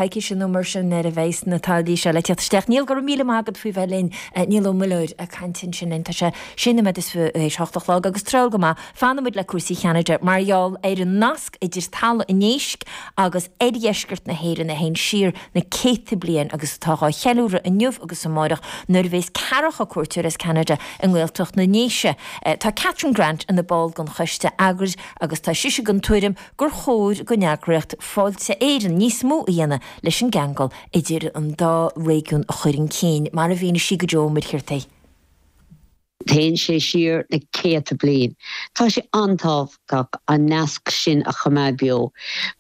Coicíse nó mar sin nuair a bheidh na táillí seo le teacht isteach. Niall, go raibh míle maith agat faoi bheith linn. Niall Ó Muilleoir ag caint ansin linn. Tá sé sé nóiméad is théis hocht a chlog agus tráth go maith fanfaidh muid le cúrsaí Cheanada mar gheall ar an nasc idir Talamh an Éisc agus oirdheisceart na hÉireann a théann siar na céadta bliain agus atá dhá cheiliúradh inniu agus amáireach nuair a bhéas ceathracha cuairteoir as Ceanada i nGaeltacht na nDéise. Tá Catherine Grant ina ball den choiste eagraithe agus tá sise den tuairim gur chóir don eagraíocht Fáilte Éireann níos mó a dhéanamh leis an gceangal idir an dá réigiún a chur chun cinn, mar a mhínigh sí do Joe Ó Muircheartaigh. Téann sé siar na céadta bliain. Tá sé an-tábhachtach an nasc sin a choimeád beo.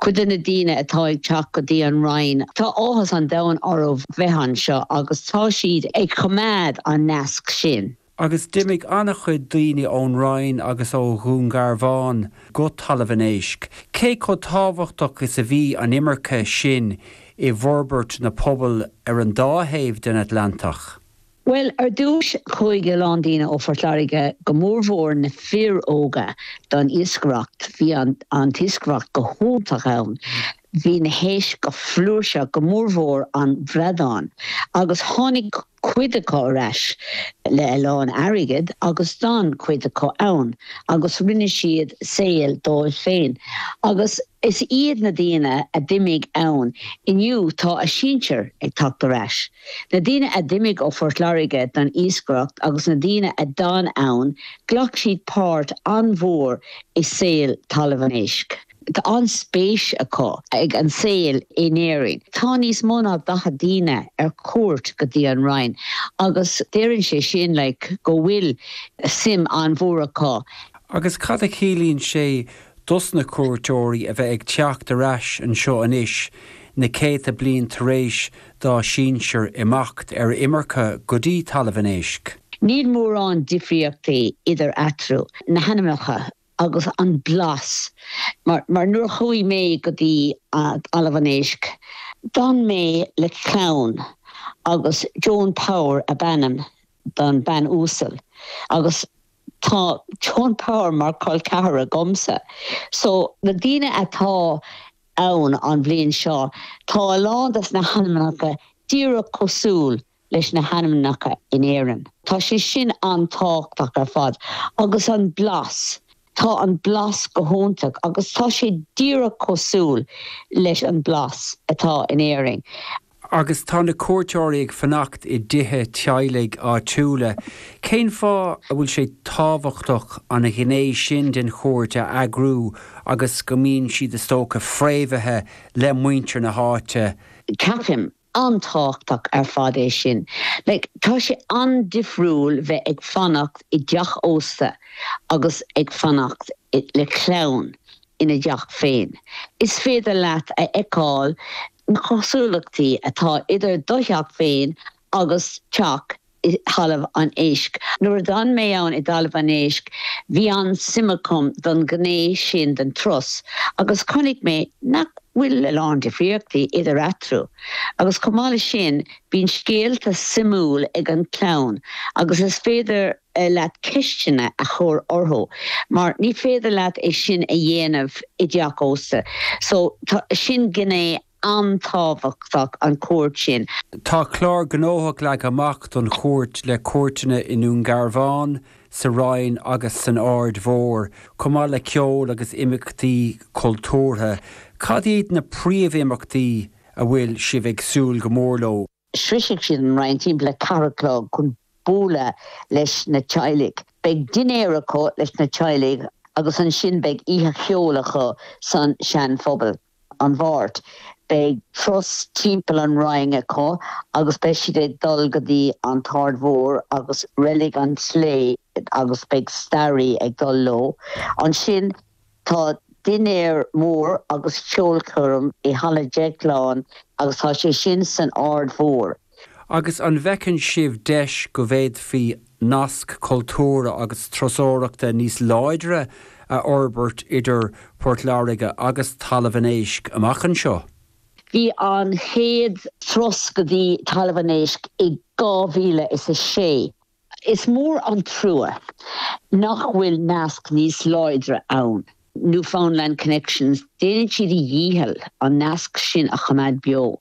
Cuid de na daoine atá ag teacht go dtí an Rinn, tá áthas an domhain orthu bheith anseo agus tá siad ag coimeád an nasc sin. Agus d'imigh an-chuid daoine ón Rinn agus ó Dhún Garbhán go Talamh an Éisc. Cé chomh tábhachtach is a bhí an imirce sin i bhforbairt na pobal ar an dá thaobh den Atlantach? Bhuel, ar dtús, chuaigh a lán daoine ó Phort Láirge, go mórmhór na fir óga, don iascaireacht. Bhí an t-iascaireacht go hiontach ann. Bhí na héisc go flúirseach, go mórmhór an bradán, agus tháinig cuid acu ar ais le a lán airgid agus d'fhan cuid acu ann agus rinne siad saol dóibh féin. Agus is iad na daoine a d'imigh ann inniu tá a sinsir ag teacht ar ais. Na daoine a d'imigh ó Phort Láirge don iascaireacht agus na daoine a d'fhan ann, ghlac siad páirt an-mhór i saol Talamh an Éisc. Tá an-spéis acu ag an saol in Éirinn. Tá níos mó ná 40 daoine ar cuairt go dtí an Rinn agus deireann sé sin like go bhfuil suim an-mhór acu. Agus cad a chiallaíonn sé dos na cuairteoirí a bheith ag teacht ar ais anseo anois, na céadta bliain tar éis dá sinsir imeacht ar imirce go dtí Talamh an Éisc? Níl mórán difríochtaí idir eatarthu, na hainmneacha agus an blas. Mar nuair a chuaigh mé go dtí Talamh an Éisc, d'fhan mé le clann agus Joan Power ab ainm don bean uasal agus tá Joan Power mar col ceathar agamsa. So na daoine atá ann an bhliain seo, tá a lán des na hainmneacha díreach cosúil leis na hainmneacha in Éirinn. Tá sé sin an-tábhachtach ar fad. Agus an blas. Tá an blas go hiontach agus tá sé díreach cosúil leis an blas atá in Éirinn. Agus tá na cuairteoirí ag fanacht i dtithe teaghlaigh áitiúla. Cén fáth a bhfuil sé tábhachtach an ghné sin den chuairt a eagrú agus go mbíonn siad, is dócha, fréamhaithe le muintir na háite? Ceapaim an-tábhachtach ar fad é sin. Like, tá sé an-difriúil bheith ag fanacht i dteach ósta agus ag fanacht le clann ina dteach féin. Is féidir leat a fheiceáil na cosúlachtaí atá idir do theach féin agus teach i dTalamh an Éisc. Nuair a d'fhan mé ann i dTalamh an Éisc, bhí an-suim agam don ghné sin den turas agus chonaic mé nach bhfuil a lán difríochtaí idir eatarthu. Agus chomh maith leis sin, bíonn scéalta suimiúil ag an chlann agus is féidir leat ceisteanna a chur orthu mar ní féidir leat é sin a dhéanamh i dteach ósta. So, tá, sin gné an-tábhachtach an chuairt sin. Tá clár gnóthach leagtha amach don chuairt le cuairteanna i nDún Garbhán, sa Rinn agus san Aird Mhór, chomh maith le ceol agus imeachtaí cultúrtha. Cad iad na príomhimeachtaí a bhfuil sibh ag súil go mór leo? Sroisfidh siad an Rinn timpeall a ceathair a chlog chun bualadh leis na teaghlaigh. Beidh dinnéar acu leis na teaghlaigh agus ansin beidh oíche cheoil acu san Sean Phobal. An Mháirt, beidh turas timpeall an Rinn acu agus beidh siad ag dul go dtí an tArd Mhór agus Reilig an tSlé agus beidh staraí ag dul leo. Ansin Tá dinnéar mór agus ceolchoirm i Halla Dheagláin agus tá sé sin san Aird Mhór. Agus an bhfeiceann sibh deis go bhféadfaí nasc cultúrtha agus turasóireachta níos láidre a fhorbairt idir Port Láirge agus Talamh an Éisc amach anseo? Bhí an chéad turas go dtí Talamh an Éisc i 2006. Is mór an trua nach bhfuil nasc níos láidre ann. Newfoundland Connections, déanann siad a dhícheall an nasc sin a choimeád beo.